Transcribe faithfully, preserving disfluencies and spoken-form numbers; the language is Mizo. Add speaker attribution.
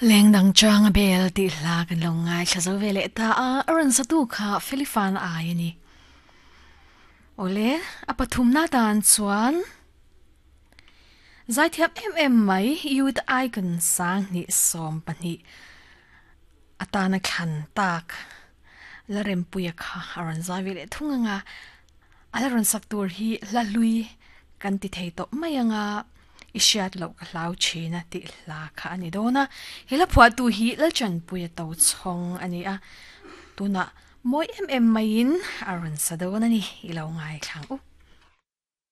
Speaker 1: Leng dang chang a bel tih hla kan lo ngaithla zo ve leh ta a, a rawn satu kha Felifan ai a ni. Awle, a pathumna tan chuan Zaithiam em em mai Youth Icon sang hnih sawm pahnih atana thlan tak la rempuia kha a rawn zai ve leh thung anga a la rawn sak tur hi hla hlui kan ti thei tawh mai anga i hriat loh ka hlau thin a tih hla kha a ni dawn a. He hla phuahtu hi Lalchanpuia to chhawng a ni a, tunah mawi em em maiin a rawn sa dawn a ni i lo ngaithlang u.